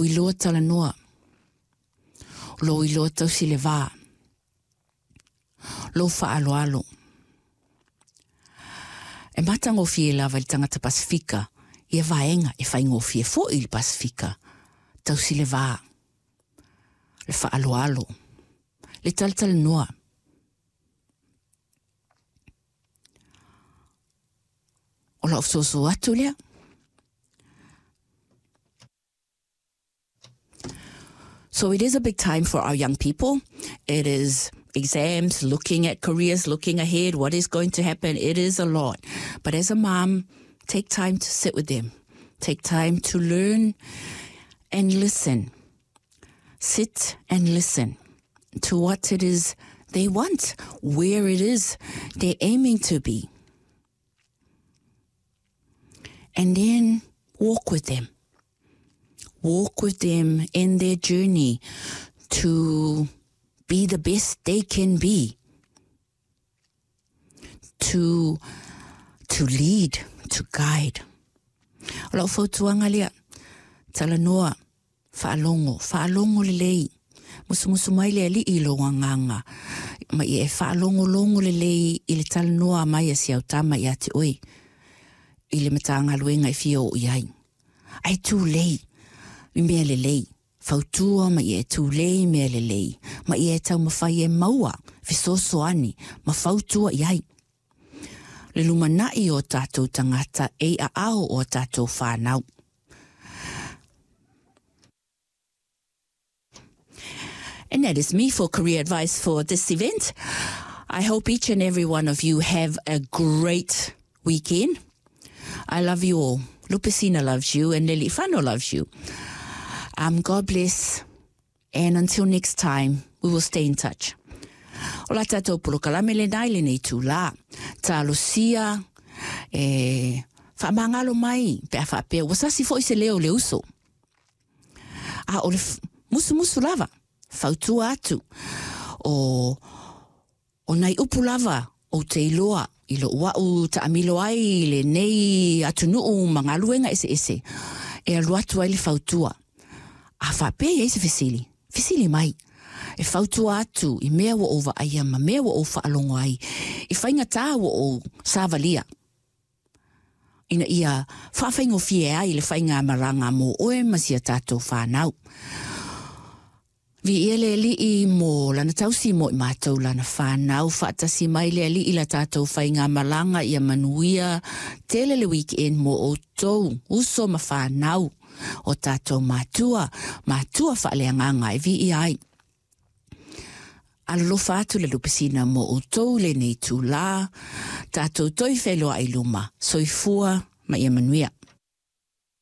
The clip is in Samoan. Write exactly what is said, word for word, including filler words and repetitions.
Iloa talanoa, lou iloa tausi le va, lou faaaloalo. E matagofie lava i le tagata Pasefika ia vaega e faigofie foi i le Pasefika tausi le va, le faaaloalo, le talatalanoa. O lau fesoasoa atu lea. So it is a big time for our young people. It is exams, looking at careers, looking ahead, what is going to happen. It is a lot. But as a mom, take time to sit with them. Take time to learn and listen. Sit and listen to what it is they want, where it is they're aiming to be. And then walk with them. Walk with them in their journey to be the best they can be, to, to lead, to guide. O lau fautuaga lea, talanoa, faalogo, faalogo lelei, musumusu mai le Alii i lou agaga, ma ia e faalogologo lelei i le talanoa mai a si au tama ia te oe, i le Matagaluega e fia oo i ai. Ae tulei i mea lelei, fautua ma ia e tulei i mea lelei, ma ia e taumafai e maua fesoasoani ma fautua i ai. Le lumanai o tatou tagata e i aao o tatou whānau. And that is me for career advice for this event. I hope each and every one of you have a great weekend. I love you all. Lupesina loves you and Lelifano loves you. Um, God bless. And until next time, we will stay in touch. O la tātou polokalame lenā i lenei itulā. Talosia, e faamagalo mai, pe a faapea, ua sasi foi se leo o le uso. A o le musumusu lava, fautua atu, o, o nai upu lava, ou te iloa, i lou a'u taamilo ai i lenei atunuu ma galuega eseese, e alu atu ai le fautua. A faapea i ai se fesili, fesili mai. E fautua atu i mea ua ou vaaia ma mea ua ou faalogo ai, i faigata ua ou savalia, ina ia faafaigofie ai le faigamalaga mo oe ma si a tatou whānau. Viia le Alii mo lana tausi mo i matou lana whānau, faatasi mai le Alii i la tatou faigamalaga ia manuia tele le weekend mo outou, uso ma whānau o tatou matua, matua faaleagaga e viia ai. Alolofa atu le Lupesina mo outou lenei itulā, tatou toe feiloai i luma, soifua ma ia manuia.